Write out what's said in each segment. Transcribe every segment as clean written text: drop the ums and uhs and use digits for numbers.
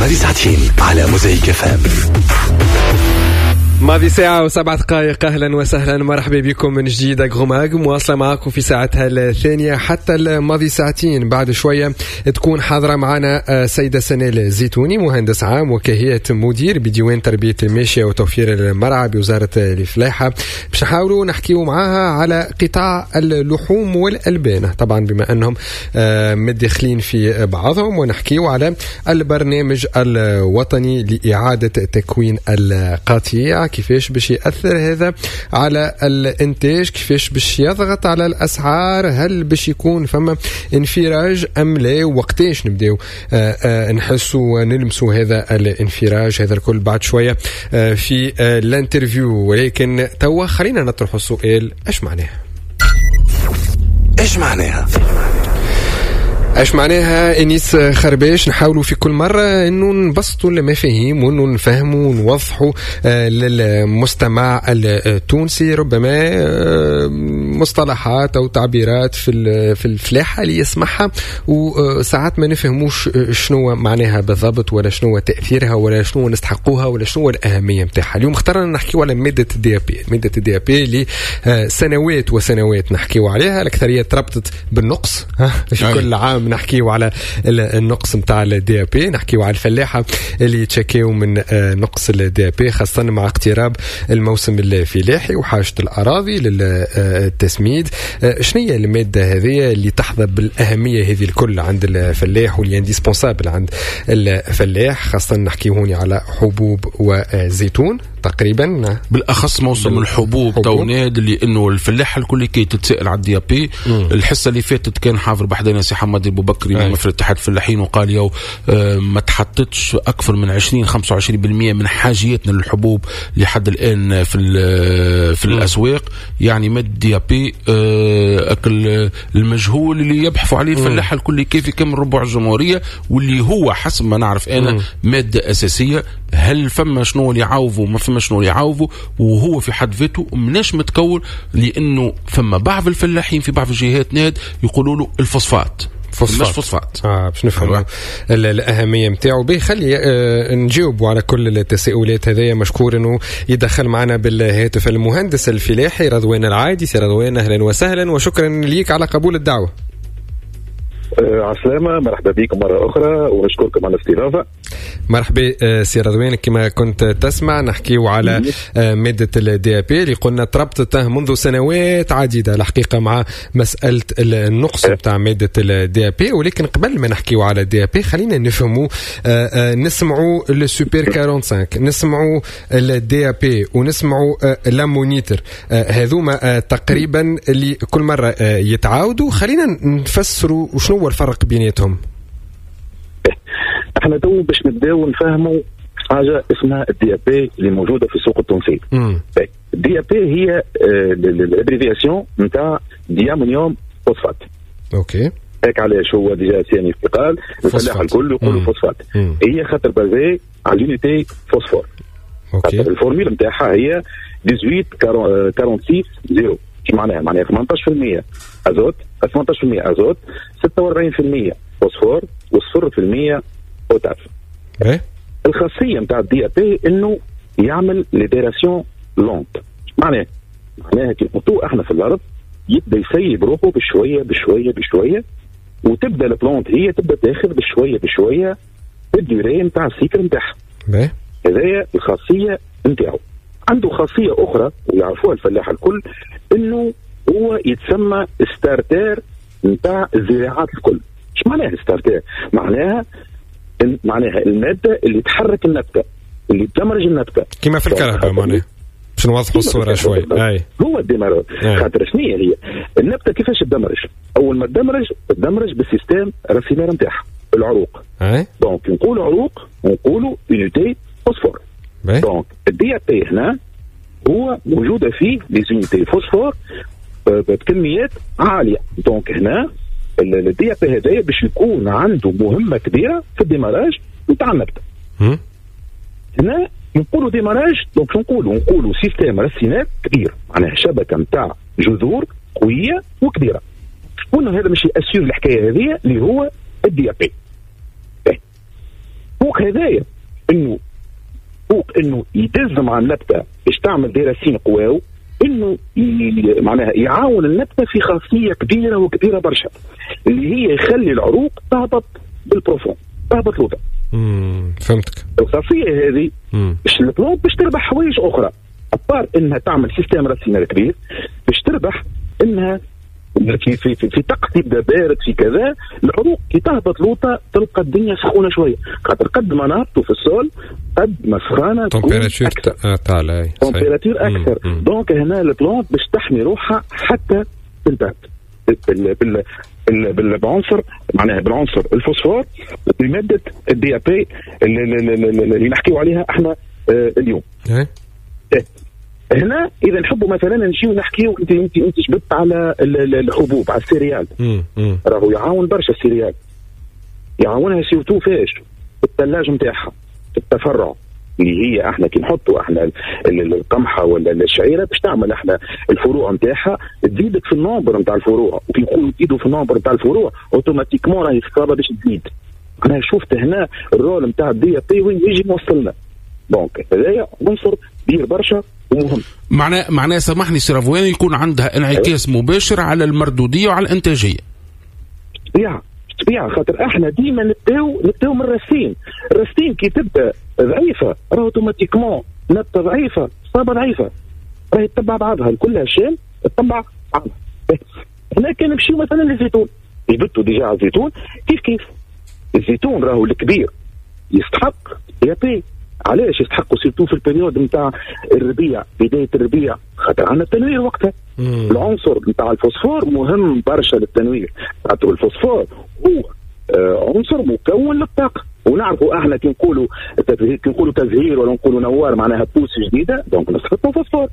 الماضي ساعتين على موزايك FM. ماضي ساعة و7 دقائق. أهلا وسهلا، مرحبا بكم من جديد. Agromag مواصلة معكم في ساعتها الثانية حتى الماضي ساعتين. بعد شوية تكون حاضرة معنا سيدة سنال الزيتوني، مهندس عام وكهيئة مدير بديوان تربية الماشية وتوفير المرعى بوزارة الفلاحة، باش نحاولوا نحكيو معاها على قطاع اللحوم والألبان، طبعا بما أنهم متداخلين في بعضهم، ونحكيو على البرنامج الوطني لإعادة تكوين القطيع، كيفاش باش يأثر هذا على الإنتاج، كيفاش باش يضغط على الأسعار، هل باش يكون فما انفراج أم لا، وقتاش نبداو نحسوا ونلمسوا هذا الانفراج. هذا الكل بعد شوية في l'interview، ولكن توا خلينا نطرح السؤال: ايش معناها؟ ايش معناها؟ ايش معناها انيس خرباش؟ نحاولوا في كل مرة انه نبسطوا المفاهيم وانه نفهموا ونوضحوا للمستمع التونسي ربما مصطلحات او تعبيرات في الفلاحة اللي يسمعها وساعات ما نفهموش شنو معناها بالضبط ولا شنو تاثيرها ولا شنو نستحقوها ولا شنو الاهمية نتاعها. اليوم اخترنا نحكيو على مادة ال DAP، مادة ال DAP اللي سنوات وسنوات نحكيو عليها، الاكثرية تربطت بالنقص. في كل عام نحكيو على النقص نتاع ال DAP، نحكيو على الفلاحة اللي يتشكيو من نقص ال DAP، خاصة مع اقتراب الموسم الفلاحي وحاجه الاراضي للتسميد. شنو هي المادة هذه اللي تحظى بالاهميه هذه الكل عند الفلاح واللي indispensable عند الفلاح، خاصة نحكيو هوني على حبوب وزيتون تقريبا؟ بالاخص موسم الحبوب تو ناد، لانه الفلاح الكل كي تتسال على ال DAP. الحصة اللي فاتت كان حاضر بحذانا سي حمادي بوبكري ممثل اتحاد الفلاحين، وقال يو ما تحطتش اكثر من 20 25% من حاجياتنا للحبوب لحد الان في الاسواق. يعني مادة DAP اكل المجهول اللي يبحثوا عليه الفلاح الكل كيف يكمل ربع الجمهوريه، واللي هو حسب ما نعرف انا مادة اساسيه. هل فما شنو اللي يعوضوا؟ ما فما شنو اللي يعوضوا، وهو في حد ذاته مناش متكون، لانه فما بعض الفلاحين في بعض الجهات ناد يقولوا له الفوسفات. فوسفات مش فوسفات. باش نفهموا الاهمية نتاعو. به خلي نجاوبوا على كل التساؤلات هذايا. مشكور انه يدخل معنا بالهاتف المهندس الفلاحي رضوان العايدي. سي رضوان، اهلا وسهلا وشكرا ليك على قبول الدعوه. عسلامة، مرحبا بكم مرة أخرى ونشكركم على الاستضافة. مرحبا سي رضوان، كما كنت تسمع نحكيو على مادة ال DAP اللي قلنا تربطت منذ سنوات عديدة الحقيقة مع مسألة النقص بتاع مادة ال DAP. ولكن قبل ما نحكيو على ال DAP خلينا نفهموا، نسمعوا السوبر 45، نسمعوا ال DAP ونسمعوا l'ammonitre، هذوما تقريبا اللي كل مرة يتعاودوا. خلينا نفسروا شنو هو الفرق بيناتهم. احنا تو باش نبداو نفهموا حاجة اسمها ال DAP اللي موجودة في السوق التونسي. ال DAP هي l'abréviation نتاع diammonium phosphate. هيك علاش هو déjà سي انيس قال الفلاح الكل يقولوا فوسفات، هي خاطر basée على l'unité phosphore. ال formule نتاعها هي 18 46 0. ايش معناها؟ معناها 18% ازوت، 18% ازوت، 46% فوسفور و0% بوتاس. الخاصية نتاع ال DAP انه يعمل libération lente. معناها كي نحطوه احنا في الارض يبدا يسيب روحه بشوية بشوية بشويه، وتبدا ال plante هي تبدا تاخذ بشوية بشوية ال durée نتاع ال cycle نتاعها. هذايا الخاصية نتاعو. عنده خاصية اخرى ويعرفوها الفلاح الكل، انه هو يتسمى starter نتاع الزراعات الكل. ايش معناها starter؟ معناها المادة اللي تحرك النبته، اللي تدمرج النبته. كما في الكرهبة معناها، باش نوضحوا الصورة شوي. اي هو ال démarreur. خاطر شنو هي النبته؟ كيفاش تدمرج؟ اول ما تدمرج تدمرج بال système racinaire نتاعها، العروق. donc نقولوا عروق نقولوا unité phosphore. donc ال DAP هنا هو موجودة فيه les unités phosphore بكميات عاليه. donc هنا ال DAP هذايا باش يكون عنده مهمة كبيرة في ال démarrage نتاع النبته. هنا نقولوا démarrage، donc نقولوا système racinaire كبير، معناها شبكة نتاع جذور قوية وكبيره. شكون هذا مش ي assure الحكاية هذه؟ اللي هو ال DAP. فوق هذايا فوق هذايا انه فوق انه يدز مع النبتة باش تعمل des racines قواو، انه معناها يعاون النبتة في خاصية كبيرة وكبيره برشا اللي هي يخلي العروق تهبط بال profond، تهبط لوطا. فهمتك. الخاصية هذه باش ال plante باش تربح حوايج اخرى، à part انها تعمل système racinaire كبير، باش تربح انها في في في, في طقس يبدا بارد في كذا، العروق كي تهبط لوطا تلقى الدنيا سخونة شوية، خاطر قد ما نهبطوا في ال sol قد ما سخانه température طالعه، température اكثر. donc هنا ال plante باش تحمي روحها حتى بالبرد بالعنصر معناها بالعنصر الفوسفور بمادة ال DAP اللي نحكيو عليها احنا اليوم. هنا اذا نحبوا مثلا نجيو نحكيو انت جبت على الحبوب على ال céréales، راهو يعاون برشا ال céréales، يعاونها surtout فاش في الثلاجة نتاعها في التفرع اللي هي احنا كي نحطوا احنا القمحه ولا الشعيرة باش تعمل احنا الفروع نتاعها تزيدك في ال nombre نتاع الفروع، وكي نقولوا تزيدوا في ال nombre نتاع الفروع automatiquement راهي الصابه باش تزيد. انا شفت هنا ال rôle نتاع ال DAP وين يجي موصلنا. donc هذايا عنصر كبير برشا ومهم. معناه سامحني سي رضوان يكون عندها انعكاس مباشر على المردوديه وعلى الانتاجية. طبيعة خاطر احنا ديما نبداو من ال racine، ال racine كي تبدا ضعيفة راه automatiquement نبته ضعيفة صابه ضعيفة راهي تتبع بعضها كلها chaîne تتبع بعضها. هنا كان نمشيو مثلا للزيتون، جبتوا déjà على الزيتون كيف كيف الزيتون راهو الكبير يستحق DAP. علاش يستحقوا؟ surtout في ال période نتاع الربيع، بداية الربيع، خاطر عندنا التنوير وقتها. العنصر نتاع الفوسفور مهم برشا للتنوير، خاطر الفوسفور هو عنصر مكون للطاقة، ونعرفوا احنا كي نقولوا تزهير ولا نقولوا نوار معناها pousse جديدة، donc نستحقوا فوسفور،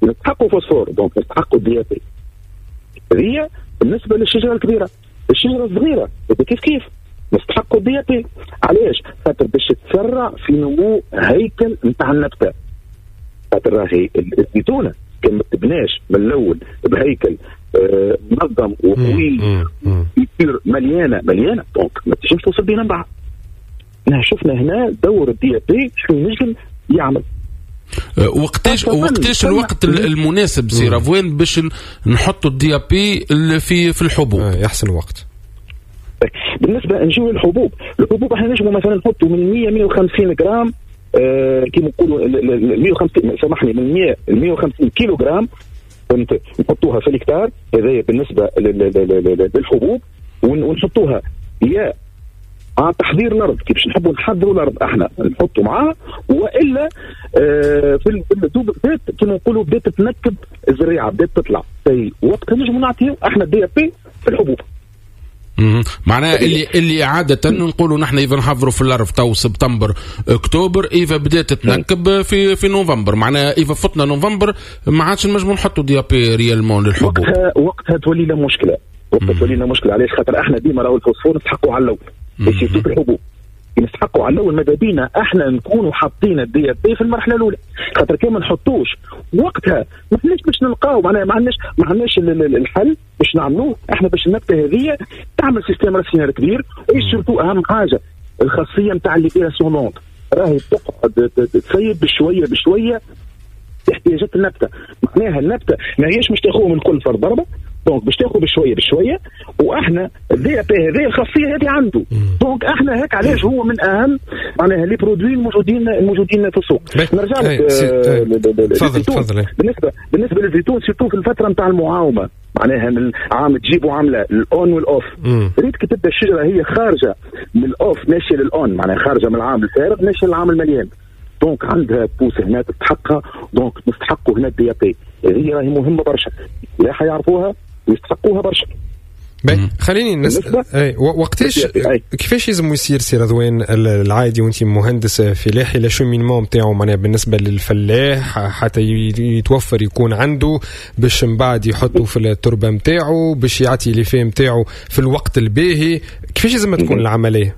نستحقوا فوسفور، donc نستحقوا DAP. هذه بالنسبة للشجره الكبيرة. الشجرة الصغيرة كيف كيف نستحقوا DAP. علاش؟ خاطر باش تسرع في نمو هيكل نتاع النبتة، خاطر راهي الزيتونه كان ما تبناش من الاول بهيكل منظم وقوي يصير مليانة مليانة، donc ما تنجمش توصل بينا من بعد. شفنا هنا دور ال DAP شنو نجم يعمل. وقتاش الوقت المناسب سي رضوان باش نحطوا ال DAP في الحبوب؟ يحسن الوقت. بالنسبة نجيو للحبوب، الحبوب احنا نجموا مثلا نحطوا من 100 150 غرام، كيما نقولوا 150 سامحني من 100 ل 150 كيلو غرام نحطوها في الهكتار. هذايا بالنسبة للحبوب، ونحطوها يا مع تحضير الارض، كيفاش نحبوا نحضروا الارض احنا نحطوا معاه، والا في الدوب بدات كيما نقولوا بدات تتنكب الزريعه، بدات تطلع في وقتها نجموا نعطيو احنا DAP في الحبوب. معناها اللي عادة نقولوا نحن إذا نحضروا في الأرض تو سبتمبر أكتوبر، إذا بدات تتنكب في نوفمبر، معناها إذا فتنا نوفمبر ما عادش نجموا نحطوا DAP réellement للحبوب. وقتها تولي لنا مشكلة، وقتها تولي لنا مشكلة. علاش؟ خاطر احنا ديما راهو الفوسفور نستحقوا على الأول، surtout في الحبوب نستحقوا على الاول. ماذا بينا احنا نكونوا حاطين ال DAP في المرحلة الاولى، خاطر كان ما نحطوش وقتها ما عندناش باش نلقاو، معناها ما عندناش الحل باش نعملوه احنا باش النبتة هذه تعمل système racinaire كبير. et surtout اهم حاجة الخاصية نتاع libération lente، راهي تقعد تسيب بشوية بشوية احتياجات النبتة. معناها النبتة ما هيش مش تاخذهم الكل فرد ضربه، donc باش تاخذ بشوية بشوية، واحنا ال DAP هذه الخاصية هذه عنده. donc احنا هيك علاش هو من اهم معناها les produits الموجودين في السوق. نرجع لك تفضل. بالنسبة للزيتون surtout في الفترة نتاع المعاومه، معناها من عام تجيبوا عامله ال on وال off. ريت كي تبدا الشجرة هي خارجه من ال off ماشية لل on، معناها خارجه من العام الفارغ ماشية للعام المليان، donc عندها pousse هنا تستحقها، donc نستحقوا هنا ال DAP. هذه راهي مهمة برشا، لا حيعرفوها ويستحقوها برشا. خليني نسأل وقتاش كيفاش لازم يصير سي رضوان العادي وانت مهندس فلاحي l'acheminement نتاعو، معناها بالنسبة للفلاح حتى يتوفر يكون عنده باش من بعد يحطه في التربة نتاعو باش يعطي l'effet نتاعو في الوقت الباهي، كيفاش لازم تكون العملية؟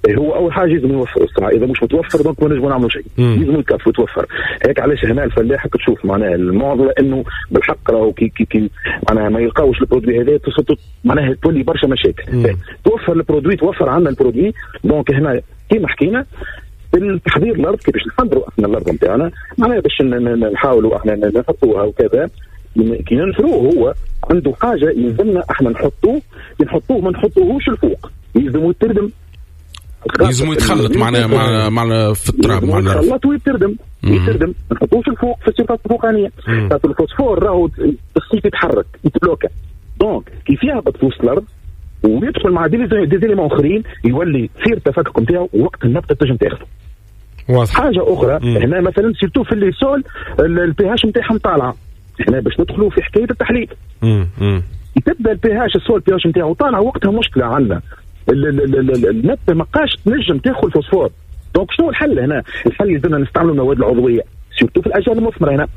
هو اول حاجة لازم يوفر الساعة، اذا مش متوفر donc ما نجموا نعملوا شيء، لازم يكفي يتوفر. هيك علاش هنا الفلاح تشوف معناها المعضلة انه بالحق راهو كي كي كي معناها ما يلقاوش ال produit هذا معناها تولي برشا مشاكل. توفر ال produit، توفر عندنا ال produit. donc هنا كيما حكينا التحضير الارض، كيفاش نحضروا احنا الارض نتاعنا معناها باش نحاولوا احنا نحطوها وكذا. كي ننثروه هو عنده حاجة يلزمنا احنا نحطوه، نحطوه ما نحطوهوش الفوق، يلزمو يتردم، يلزمو يتخلط معنا مع في التراب، معنا يتخلط ويتردم، يتردم، ما نحطوش الفوق في ال surface الفوقانيه. خاطر الفوسفور راهو الصيف يتحرك يتبلوكا، donc كيف يهبط في وسط الارض ويدخل مع des éléments اخرين يولي تصير التفكك نتاعو وقت النبتة تنجم تاخذه. واضح. حاجة اخرى هنا مثلا surtout في les sols ال pH نتاعهم طالعه، هنا باش ندخلوا في حكاية التحليل. تبدا ال pH ال sol pH نتاعو طالع وقتها مشكلة عندنا النبتة ما بقاش تنجم تاخذ فوسفور. donc شنو الحل هنا؟ الحل يلزمنا نستعملوا المواد العضوية surtout في الاشجار المثمرة. هنا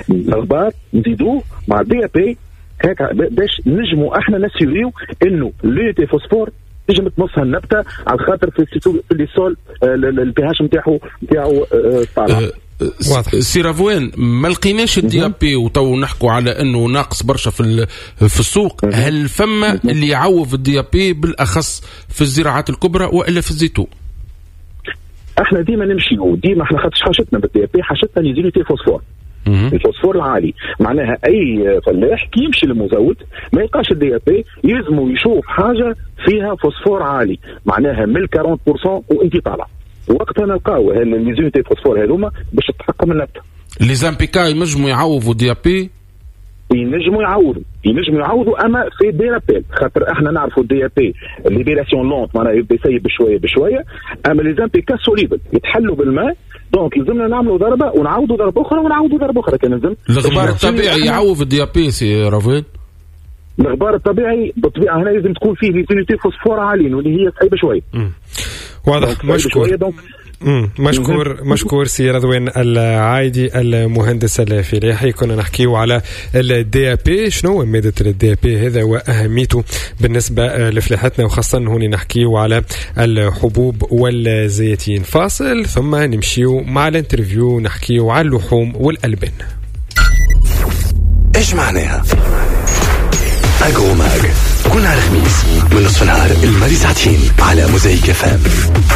الغبار نزيدوه مع ال DAP هكا باش نجموا احنا نسيريو انه l'unité phosphore تنجم تمصها النبتة على خاطر في les sols ال pH نتاعو طالع. واضح. سي رضوان، ما لقيناش ال DAP وتو نحكوا على انه ناقص برشا في السوق. هل فما اللي يعوض ال DAP بالاخص في الزراعات الكبرى والا في الزيتون؟ احنا ديما نمشيو ديما احنا خاطر حاجتنا بال DAP، حاجتنا les unités phosphore، الفوسفور العالي. معناها اي فلاح كي يمشي للمزود ما يلقاش ال DAP يلزمو يشوف حاجة فيها فوسفور عالي، معناها من 40% وانت طالع. وقتها نلقاو les unités phosphore هذوما باش تحقق من النبتة. les NPK ينجموا يعوضوا DAP؟ ينجموا يعوضوا اما في des rappels، خاطر احنا نعرفوا DAP libération lente معناها يبدا يسيب بشوية بشوية، اما les NPK solubles يتحلوا بالماء، donc لازمنا نعملوا ضربه ونعاودوا ضربه اخرى ونعاودوا ضربه اخرى كان لازم. الغبار الطبيعي يعوض ال DAP سي رضوان؟ الغبار الطبيعي بالطبيعة هنا لازم تكون فيه les unités phosphore عاليين واللي هي صعيبة شوية. واضح. مشكور. مشكور سي رضوان العايدي المهندس الفلاحي. كنا نحكيو على ال DAP، شنو مادة ال DAP هذا وأهميته بالنسبة لفلاحتنا، وخاصة هوني نحكيو على الحبوب والزيتين. فاصل ثم نمشيو مع ال interview نحكيو على اللحوم والألبان. ايش معناها Agro Mag؟ كل نهار خميس من نصف النهار الماضي ساعتين على موزايك FM.